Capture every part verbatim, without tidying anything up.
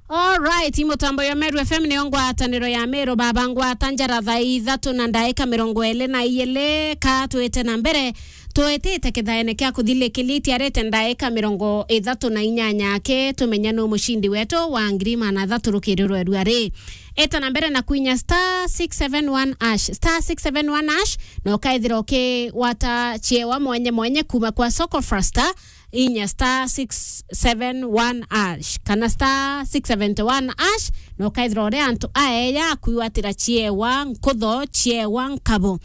Alright, i mutambo ya Meru F M niyo ngwataniro ya Meru baba, ngwata njara thaa ithatu na ndaika mirongo iri na iri. Ka twite na mbere, twitite kithaene kia kuthilikilia itiarite ndaika mirongo ithatu na inyanya aki, tumenya nu mucindi wetu wa ngiri magana athatu rukiri rwa rua ri. Ita na mbere na kwinya star six seven one hash, star six seven one hash, na ukaithira ukigwata chiewa mwanya mwanya kuma kwa Soko Fasta, inya star six seven one hash kana star six seventy one hash, na ukaithira uria antu aeya akwigwatira chiewa nkutho, chiewa nkabo.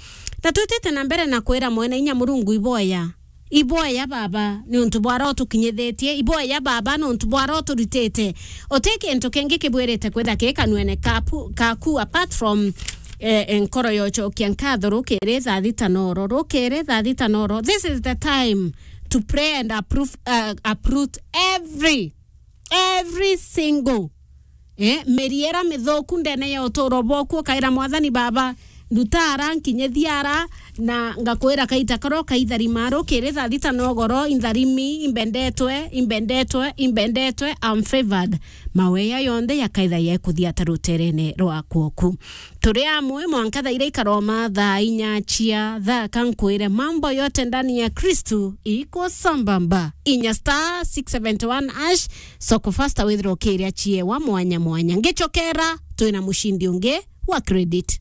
Na twitite na mbere na kwira mwene inya Murungu iboya. Iboya baba ni untu bwara utukinyithitie, iboya baba ni untu bwara uturitite. Uti kintu kingi kibwirite kwitha ki kanwene kapu-, kaku apart from eh, nkoro yochokia nkatho rukiri thaa thita noro, rukiri thaa thita noro. This is the time to pray and approve, uh, uproot every, every single, eh, miri ira mithuku ndene ya uturo bwaku, ukaira Mwathani baba, ndutara nkinyithia ara, na ngakwira kaita karo kaithari maru kiri thaa thita nogoro, intharimi, imbendetwe, imbendetwe, imbendetwe, I'm favored. Maweya yonthe yakaitha yekuthia ta ruterene rwa kwoku. Turi amwe mwanka thaa iria ikaroma thaa inya cia thaka nkwire mambo yote ndani ya Kristu iko sambamba. Inya star six seventy one hash, Soko Fasta withira ukiria chiewa mwanya mwanya. Ngichokera, twina mushindi ungi wa credit.